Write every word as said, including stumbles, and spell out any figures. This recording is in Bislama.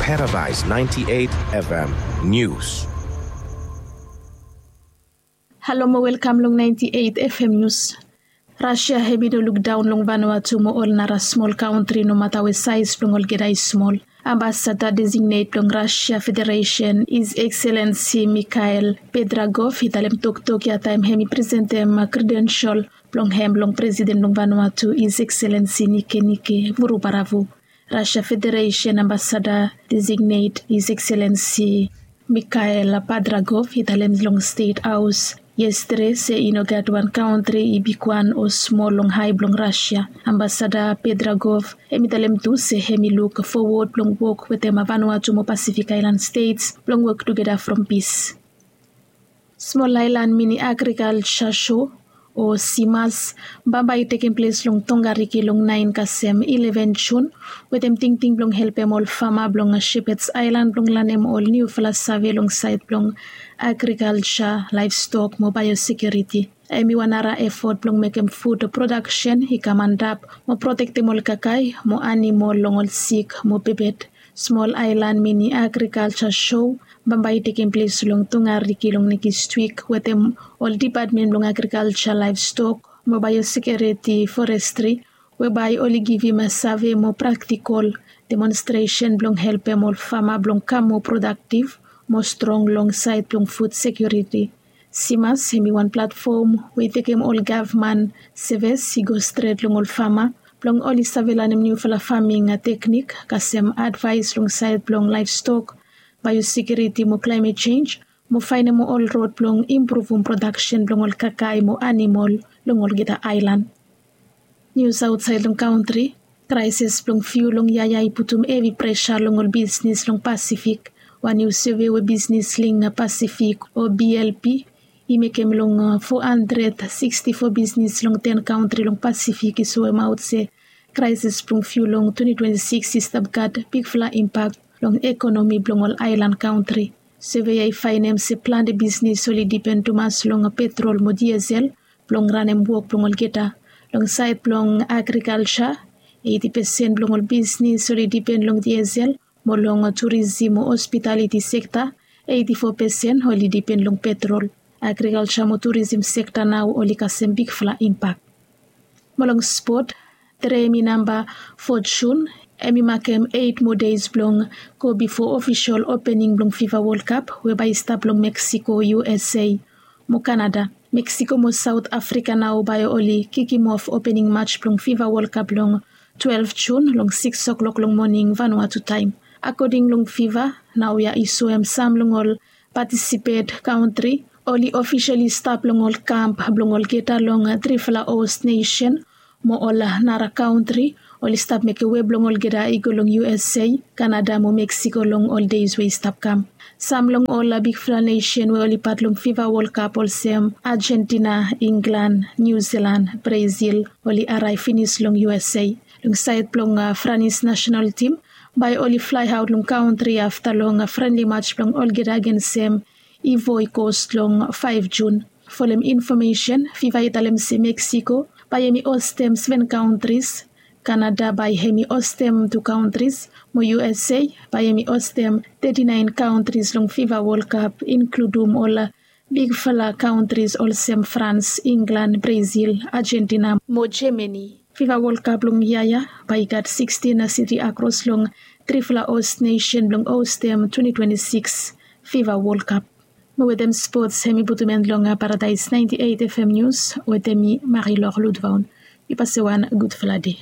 Paradise ninety-eight F M News. Halo mo welkam long ninety-eight F M News. Rasia hemi no lukdaon long Vanuatu mo ol nara smol kantri, nomata we saes blong olgeta i smol. Ambasada designet blong Rasia Federesen, His Excellency Mikhail Pedragov, i talem toktok ya taem hemi presentem kredensel blong hem long Presiden blong Vanuatu, His Excellency Nikenike Vurubaravu. Rasia Federesen Ambasada designet, His Excellency Mikhail Padragov, i talem long Stet Haos yestede se i no gat wan kantri, i bigwan o smol, long hae blong Rasia. Ambasada Pedragov hemi talem tu se hemi luk fowod blong wok wetem Vanuatu mo Pasifik Aelan Stets blong wok tugeta from pis. Smol Aelan Mini Agrikalja Sho, o SIMAS, bambae i tekem ples long Tongariki long naen kasem ileven Jun, wetem tingting blong helpem ol fama blong Shepherds Island blong lanem ol niufala save long saed blong agrikalja, laevstok mo baeosekiuriti. Hemi wan nara efot blong mekem fud prodaksen i kam antap mo protektem ol kakae mo anamol long ol sik mo bebed. Smol Aelan Mini Agrikalja Sho bambae i tekem ples long Tongariki long nekis wik wetem ol dipatmen blong agrikalja, laevstok mo baeosekiuriti, forestri, we bae oli givim save mo praktikol demonstresen blong helpem ol fama blong kam moa prodaktiv mo strong long saed blong fud sekiuriti. SIMAS hemi wan platfom we i tekem ol gavman sevis i go stret long ol fama blong oli save lanem niufala faming teknik, kasem advaes long saed blong laevstok, baeosekiuriti mo klaemet jenj, mo faenem ol rod blong impruvum prodaksen blong ol kakae mo anamol long olgeta aelan. Nius aotsaed long kantri. Kraesis blong fiul long yaya i putum hevi presa long ol bisnis long Pasifik. Wan niu sove we Bisnis Link Pasifik, o B L P, i mekem long fo handred siksti fo bisnis long ten kantri long Pasifik i soemaot se kraesis blong fiul long twenti twenti sikis i stap gat bigfala impak long ekonomi blong ol aelan kantri. Sove ya i faenem se plante bisnis oli dipen tumas long petrol mo diesel blong ranem wok blong olgeta. Long saed blong agrikalja, eiti pesen blong ol bisnis oli dipen long diesel, mo long turizim mo hospitaliti sekta, eiti fo pesen oli dipen long petrol. Agrikalja mo turizim sekta nao oli kasem bigfala impak. Mo long spot, tre hemi namba fo Jun, hemi makem eit moa deis blong go bifo ofisol opening blong FIFA World Cup we bae i stap long Mexico, U S A. Mo Kanada. Mexico mo Saot Afrika nao bae oli kikimof opening maj blong FIFA World Cup long twelef Jun long sikis o'klok long moning Vanuatu taem. Akoding long FIFA, naoia i soem sam long ol patisipet kantri oli ofisali stap long ol kamp blong olgeta long trifala host nesen, mo ol nara kantri oli stap mekem wei blong olgeta i go long U S A, Kanada mo Mexico long ol deis we i stap kam. Sam long ol bigfala nesen we oli pat long FIFA World Cup olsem Ajentina, Inglan, Niu Silan, Brazil oli araev finis long U S A. Long saed blong Franis nasenal tim, bae oli flaeaot long kantri afta long frenli maj blong olgeta agensem Ivory Coast long faef Jun. Folem infomesen, FIFA i talem se Mexico bae hemi hostem seven kantris, Kanada bae hemi hostem tu kantris, mo U S A bae hemi hostem teti naen kantris long FIFA World Cup, inkludum ol bigfala kantris olsem Frans, Inglan, Brazil, Ajentina mo Jamani. FIFA World Cup blong yia ya bae i gat sikstin siti akros long trifala host nesen blong hostem twenti twenti sikis FIFA World Cup. Mo wetem spots, hemi putum en long Paradise ninety-eight F M News, wetem mi Marie-Laure Ludvaon. Mi pasewan gudfala dei.